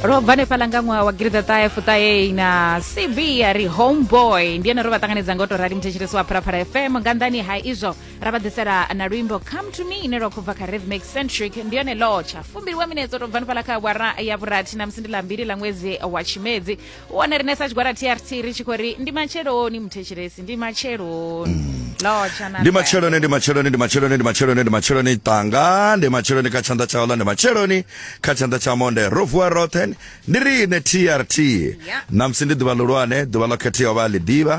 Ro bva hanefhaḽa nga ṅwaha wa gidiḓaṱahe fuṱahe na cb ya ri homeboy. Ndi ene ro vha ṱanganedza nga u tou rali muthetshelesi wa Phalaphala FM. Nga nḓani ha izwo ra vha ḓisela na luimbo Come to Me ine lwa khou bva kha Rhythmic Centric. Ndi yone lotsha fumbili wa minetse to bva hanefhaḽa kha awara ya vhurathi na musi ndi ḽa mbili ḽa ṅwedzi wa Tshimedzi. U wane rine sa tshigwada TRT ri tshi khou ri ndi matsheloni muthetshelesi, ndi matsheloni. Lotsha na Ndi matsheloni, ndi matsheloni, ndi matsheloni, ndi matsheloni, ndi matsheloni tanga, ndi matsheloni kha tshanḓa tsha uḽa, ndi matsheloni kha tshanḓa tsha monde. Ro vuwa roṱhe, ndi riṋe TRT. Ṋamusi ndi ḓuvha ḽihulwane, ḓuvha ḽo khetheaho vha a ḽi ḓivha,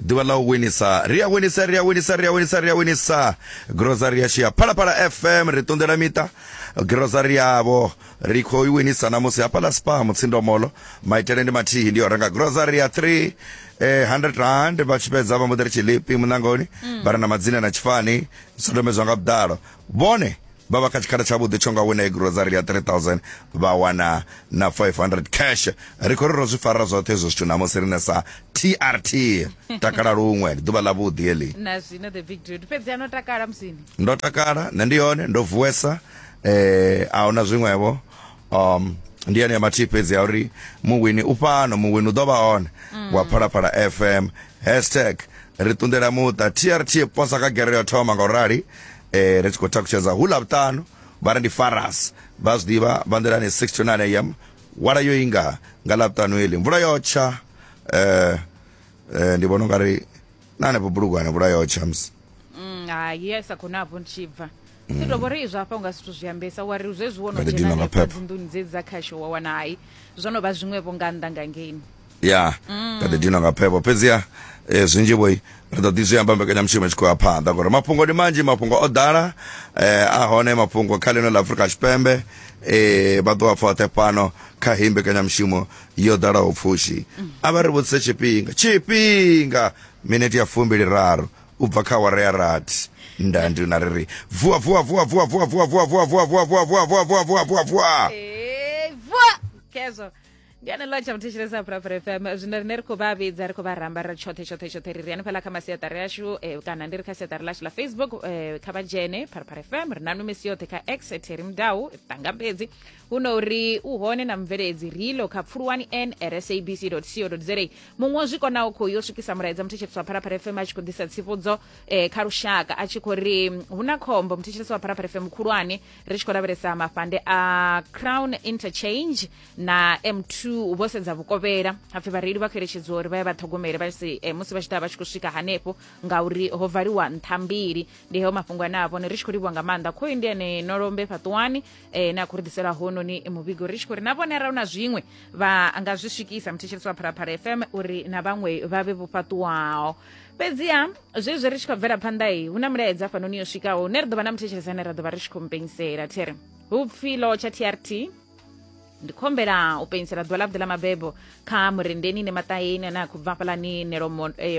ḓuvha ḽa u winisa. Ri a winisa, ri a winisa, ri a winisa, ri a winisa. Grocery yashu ya Phalaphala FM ri ṱunḓela miṱa grocery yavho ri khou i winisa ṋamusi hafhaḽa Spar Mutsindomolo. Maitele ndi mathihi, ndi yo renga grocery ya 3 100 rand, vha tshi fhedza vha mbo ḓi ri tshiḽipi muṋangoni, vha re na madzina na tshifani zwidodombedzwa nga vhuḓalo. Vhone vha vha kha tshikhala tshavhuḓi tsho nga wina grocery ya 3000 vha wana na 500 cash. Ri khou ri ro zwi fara zwoṱhe hezwo zwithu ṋamusi rine sa TRT. Takala luṅwe, ndi ḓuvha ḽavhuḓi heḽi. Na zwino the big dude fhedzi ano takala musini. Ndo takala, nṋe ndi hone, ndo vuwesa, a huna zwiṅwevho. Ndi yone ya mathihi fhedzi ya uri muwini u fhano, muwini u ḓo vha hone wa Phalaphala FM. Hashtag ri ṱunḓela muṱa TRT posa kha gere yo thoma nga u rali. Ri tshi khou takutshedza hu Ḽavhuṱanu, vha ri ndi Faras, vha zwi ḓivha vha nḓilani 6 to 9 am. Wala yo inga nga Ḽavhuṱanu heḽi, mvula yo tsha. Ndi vhona ungari na hanefho Bulugwane mvula yo tsha musi. Hai, ya sa khou na hafho ndi tshi bva. Ndi tou vhori izwo hafha unga zwithu zwi ambesa wa ri zwezwi wo no Nga ḓi dzhena dinwa nga hanefha phepho. dzinḓuni dzedzi dza khasho wa wana hai zwo no vha zwiṅwevho nga nnḓa nga ngeini. Ya nga ḓi dinwa nga phepho fhedziha zwinzhi vho ri ḓo ḓi zwi amba mbekanyamushumo i tshi khou ya phanḓa ngori mafhungo ndi manzhi, mafhungo o ḓala, a hone mafhungo kha ḽino ḽa Afrika Tshipembe, vha ḓo a pfa oṱhe fhano kha heyi mbekanyamushumo yo ḓalaho pfushi. A vha ri vhudzise tshifhinga, tshifhinga minete ya fumbili raru u bva kha awara ya rathi. Nda ndi na ri ri vuwa vuwa vuwa vuwa vuwa vuwa vuwa vuwa vuwa vuwa vuwa vuwa vuwa vuwa vuwa vuwa vuwa. Ee, vuwa khezwo ndi ane ḽa tsha muthetshelesa Phalaphala FM. Zwino rine ri khou vha vhidza, ri khou vha ramba ri tshoṱhe tshoṱhe tshoṱhe, ri ri hanefhaḽa kha masiaṱari ashu, kana ndi ri kha siaṱari ḽashu ḽa Facebook, kha vha dzhene Phalaphala FM. Ri na nwe misi yoṱhe kha X Terry Mudau Tangambedzi, hu no uri u hone na mubveledzi rilo kha pfuluwani n at sabc co za. Muṅwe o zwi konaho khou yo swikisa mulaedza muthetshelesi wa Phalaphala FM a tshi khou ḓisa tsivhudzo kha lushaka, a tshi khou ri hu na khombo muthetshelesi wa Phalaphala FM khulwane, ri tshi khou lavhelesa mafhande a Crown Interchange na M2 vho sedza vhukovhela. Hapfi vhareili vha khou eletshedziwa uri vha ye vha ṱhogomele vha si musi vha tshi ḓa vha tshi khou swika hanefho ngauri ho valiwa nṱha mbili. Ndi heo mafhungo ane a vhone ri tshi khou livhuwa nga maanḓa. Khoyu ndi ene Nolombe Fhaṱuwani, na khou ri ḓisela hononi muvhigo, ri tshi khou ri na vhone arali hu na zwiṅwe vha nga zwi swikisa muthetshelesi wa Phalaphala FM uri na vhaṅwe vha vhe vho fhaṱuwaho. Fhedziha zwezwi ri tshi khou bvela phanḓa i hu na mulaedza hafhanoni yo swikaho hune ri ḓo vha na muthetshelesi ane ra ḓo vha ri tshi khou mpenyisela there hu pfi lotsha TRT. Ndi khombela u penyisela ḓuvha ḽavhuḓi ḽa mabebo kha Murendeni ne Maṱaheni ane a khou bva hafhaḽani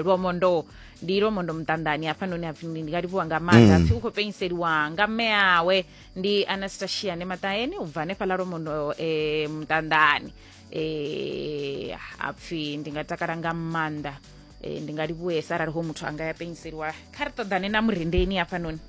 Lwomondo, ndi Lwomondo Muṱanḓani hafhanoni. Hapfi ndi nga livhuwa nga maanḓa. Hapfi u khou penyiseliwa nga mme awe ndi Anastasia ne Maṱaheni u bva hanefhaḽa Lwomondo Muṱanḓani. Hapfi ndi nga takala nga maanḓa, ndi nga livhuwesa arali ho muthu anga ya penyiseliwa. Kha ri ṱoḓane na Murendeni hafhanoni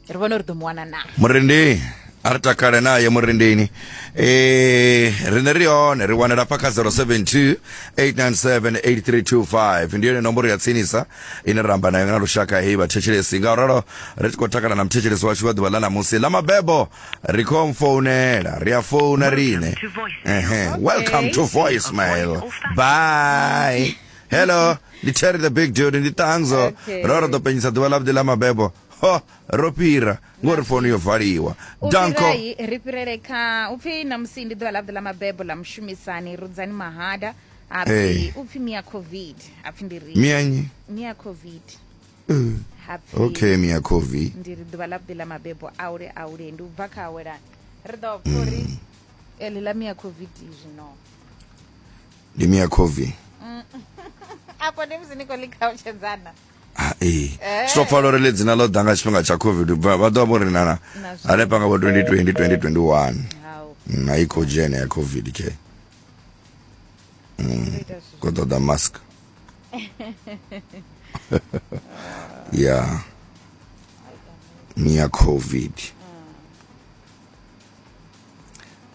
ri vhone uri ḓo mu wana na Murendeni. A ri takale naye Murendeni. Riṋe ri hone, ri wanela fha kha 072 897 8325, ndi yone nomboro ya tsinisa ine ra amba nayo na lushaka heyi vhathetshelesi. Nga uralo ri tshi khou takala na muthetshelesi washu wa ḓuvha ḽa ṋamusi ḽa mabebo, ri khou mfounela, ri a founa riṋe. Ehe, welcome to voicemail. Bye. Hello, ndi Terry the big dude, ndi Tangzo. Ro ri ḓo penyisa ḓuvha ḽavhuḓi ḽa mabebo. Ho, ro fhira ngori founu yo valiwa. Danko. Ufhirai ri fhirele kha upfi namusi ndi ḓuvha ḽavhuḓi ḽa mabebo ḽa mushumisani Rudzani Mahada. Hapfi upfi Mia Covid, hapfi ndi ri Mia nnyi? Mia Covid. Hapfi Okay, Mia Covid. Ndi ri ḓuvha ḽavhuḓi ḽa mabebo aule aule, ndi u bva kha awelani ri ḓo pfa uri eḽi ḽa Mia Covid zwino Ndi Mia Covid. Afho ndi musi ni khou ḽi khautshedzana. Ah, ee. Zwi tou pfala uri ḽi dzina ḽo ḓa nga tshifhinga tsha Covid, vha ḓo vha vho ri nana Na zwi- hanefha nga vho 2020 2021. Hau. A i khou dzhena ya Covid ke. Ndo ita zwithu Khou ṱoḓa mask. Ya. Mia Covid.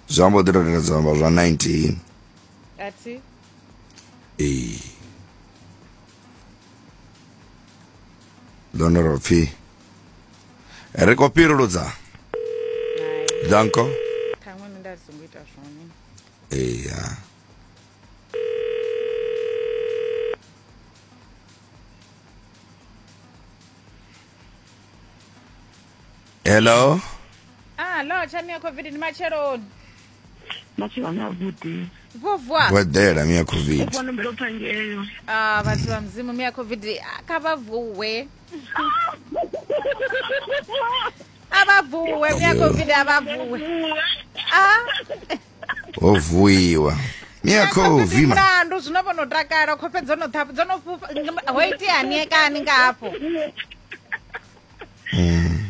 Zwi amba u ḓi tou zwa amba zwa 19. Athi. Ee. Ḽone ro pfi ri khou fhiruludza. Hai. Danko. Ṱhaṅwe nṋe nda songo ita zwone. Eya. Hello. Ah, lo tsha mia COVID ndi matsheloni. Matsheloni avhuḓi. Vho vuwa. Vho eḓela mia COVID. Vho nombela pfa ngeyo. Ah, vhathu vha mudzimu mia COVID ah, kha vha vuwe. A vha vuwe mia COVID a vha vuwe. Ah. Ho vuiwa. Mia COVID. Mulandu zwino vho no takala khofhe dzo no ṱhaphu dzo no fhufha ho iteani kani nga hafho.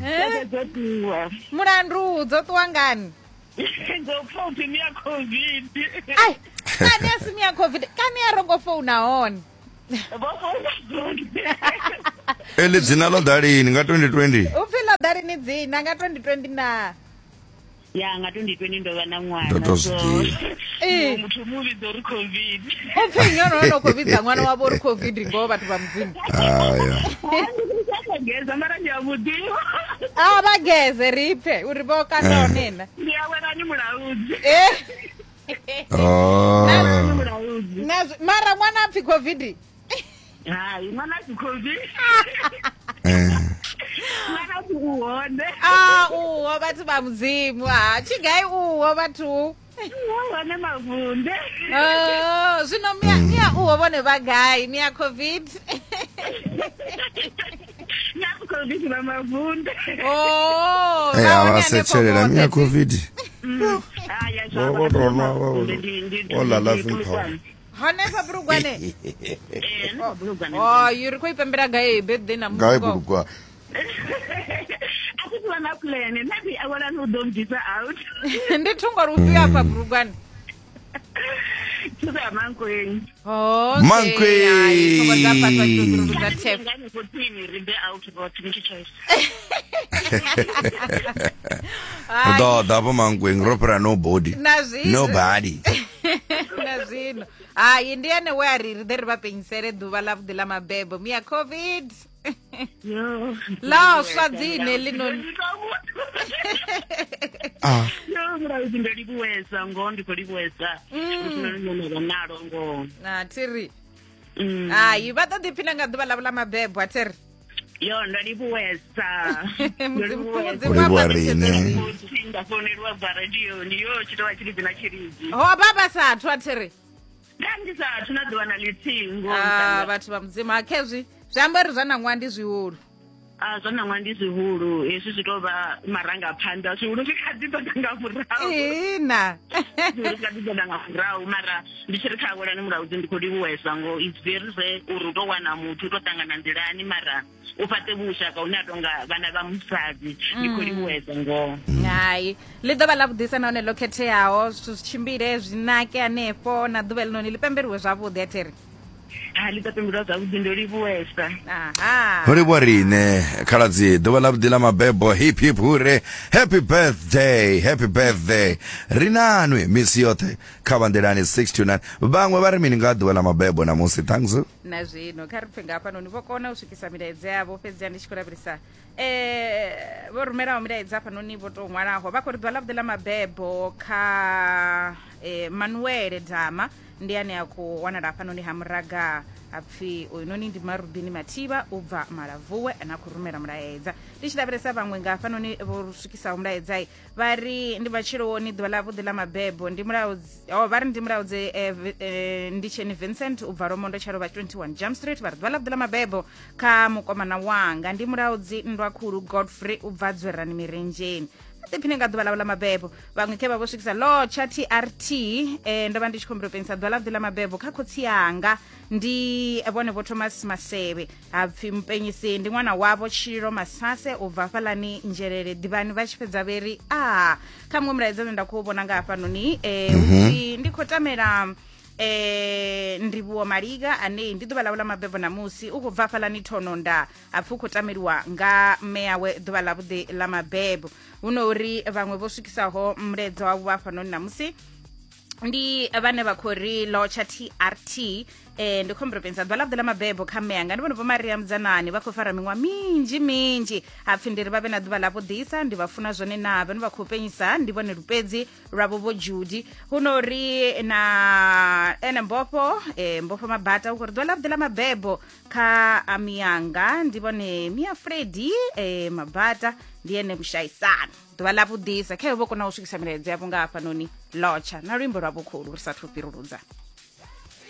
Eh? Dzo ṱuwa. Mulandu dzo ṱuwa ngani? Dzo pfa upfi mia COVID. Ai, kani a si mia COVID, kani a rongo founa hone. Vho founa dzone. Eli dzina ḽo ḓa lini nga 2020? Upfi ḽo ḓa lini dzina nga 2020 na? Ya nga 2020 ndo vha na ṅwana. Ndo to zwi ḓivha. Ee. Muthu mu vhidza uri COVID. Upfi nnyi ono ono khou vhidza ṅwana wavho uri COVID ngoho vhathu vha mudzimu. Aya. Geza mara ndi a vhuḓivha. A vha geze ri pfe uri vho kanda hone na. Ndi a welani mulaudzi. Eh. Oh. Mulaudzi. Na mara ṅwana a pfi COVID. Hai, ṅwana a si COVID. Eh. Ṅwana a si u hone. Ah, uho vhathu vha mudzimu. Ah, tshigai uho vhathu. U hone mavunde. Oh, zwino mia mia uho vhone vha gai mia COVID. Na COVID vha mavunde. Oh, Eh, vha a hone vha hanefho setshelela vhoṱhe. mia COVID. Haya, Vho vho tou nwa vha vho ḽa laughing powder. Hanefha Bulugwane. Eh, hanefha Bulugwane. Oh, you ri khou i pembela gai birthday na Gai musi. Bulugwane. A thi vha na plan. Nṋe ndi awelani u ḓo mbvisa out. Ndi thungo lufhio afha Bulugwane? Thuso ya Mankweng. Okay. Mankweng. Hai, thungo dza fhasi vha tshi tou fhiruludza thef. Nga hanefho tsini ri bve out roṱhe ni tshi choice. Ri ḓo ḓa hafho Mankweng ro fhira nobody. Na zwino. Nobody. Na zwino. Hai, ndi ene we a ri ri ḓe ri vha penyisele ḓuvha ḽa vhuḓi ḽa mabebo. Mia COVID. Yo. Ḽa swa dzine ḽinoni. Ah. Yo, mulaudzi ndo livhuwesa ngoho ndi khou livhuwesa. Lufuno lune na vha nalo ngoho. Na thiri. Mm. Hai, vha ḓo ḓiphina nga ḓuvha ḽavho ḽa mabebo a thiri. Yo, ndo livhuwesa. Ndo Mudzimu livhuwesa. Mudzimu U a livhuwa fhaṱutshedze riṋe. Musi nda founeliwa bva radioni yo tshi tovha tshilidzi na tshilidzi. Ho vha vha sathu a thiri. Nda ndi sathu na ḓuvha na ḽithihi ngoho. Ah, vhathu vha mudzimu ha khezwi zwi amba uri zwa ṋaṅwaha ndi zwihulu. A zwa ṋaṅwaha ndi zwihulu, hezwi zwi tou vha marangaphanḓa, zwihulu zwi kha ḓi ḓo ḓa nga murahu. Ihina. Zwihulu zwi kha ḓi ḓo ḓa nga murahu, mara ndi tshi ri kha awelani mulaudzi ndi khou livhuwesa ngoho. It's very rare uri u tou wana muthu u tou ṱangana nḓilani mara u fhaṱe vhushaka hune a tonga vhana vha musadzi. Ndi khou livhuwesa ngoho. Hai, ḽi ḓo vha ḽa vhuḓisa nahone ḽo khetheaho, zwithu zwi tshimbile zwi nake hanefho na ḓuvha ḽinoni ḽi pembeliwe zwavhuḓi a thiri. Ha ḽi ḓo pembelwa zwavhuḓi, ndo livhuwesa. Aha. Ho livhuwa riṋe khaladzi ḓuvha ḽa vhuḓi ḽa mabebo hip hip hure happy birthday happy birthday ri nanwi misi yoṱhe kha vhanḓilani 6 to 9 vhaṅwe vha ri mini nga ḓuvha ḽa mabebo namusi thanks Na zwino kha ri pfe nga hafhanoni vho kona u swikisa milaedza yavho fhedzi ndi tshi khou lavhelesa vho rumelaho milaedza hafhanoni vho tou ṅwalaho vha khou ri ḓuvha ḽa vhuḓi ḽa mabebo kha Manuele Dama ndi ane a khou wanala hafhanoni ha Muraga hapfi uyu noni ndi Marubini Mathivha u bva Malavuwe ane a khou rumela mulaedza. Ndi tshi lavhelesa vhaṅwe nga hafhanoni vho swikisaho mulaedza vha ri ndi matsheloni ḓuvha ḽa vhuḓi ḽa mabebo ndi mulaudzi oh, vha ri ndi mulaudzi ndi tsheni Vincent u bva Lomondo Tshalovha 21 Jump Street vha ri ḓuvha ḽa vhuḓi ḽa mabebo kha mukomana wanga ndi mulaudzi Nndwakhulu Godfrey u bva Dzwerani Mirenzheni. Ḓiphine nga ḓuvha ḽavho ḽa mabebo. Vhaṅwe khe vha vho swikisa lotsha TRT ndo vha ndi tshi khombela u penyisa ḓuvha ḽa vhuḓi ḽa mabebo kha khotsi yanga ndi vhone vho Thomas Masevhe hapfi mupenyisi ndi ṅwana wavho Tshililo Masase u bva hafhaḽani Nzhelele ḓivhani vha tshi fhedza vheri a kha muṅwe mulaedza une nda khou vhona nga hafhanoni upfi ndi khou tamela Ndivhuwo Maliga ane ndi ḓuvha ḽawe ḽa mabebo ṋamusi, u khou bva hafhaḽani Thononda, hapfi u khou tameliwa nga mme yawe ḓuvha ḽavhuḓi ḽa mabebo. Hu no uri vhaṅwe vho swikisaho mulaedza wavho hafhanoni ṋamusi ndi vhane vha khou ri lotsha TRT. Ndi khombelo pensa ḓuvha ḽavhuḓi ḽa mabebo kha mme anga, ndi vhone Vho Maria Mudzanani, vha khou fara miṅwaha minzhi minzhi. Hapfi ndi ri vha vhe na ḓuvha ḽavhuḓisa, ndi vha funa zwone na vhane vha khou penyisa ndi vhone lupedzi lwavho Vho Judy. Hu no uri na ene Mbofho, Mbofho Mabata u khou ri ḓuvha ḽavhuḓi ḽa mabebo kha miyanga, ndi vhone Mia Fredi Mabata, ndi ene vhushaisano. Ḓuvha ḽa vhuḓisa khayo vho kona u swikisa milaedza yavho nga hafhanoni. Lotsha na luimbo lwa vhukhulu ri sathu fhiruludza.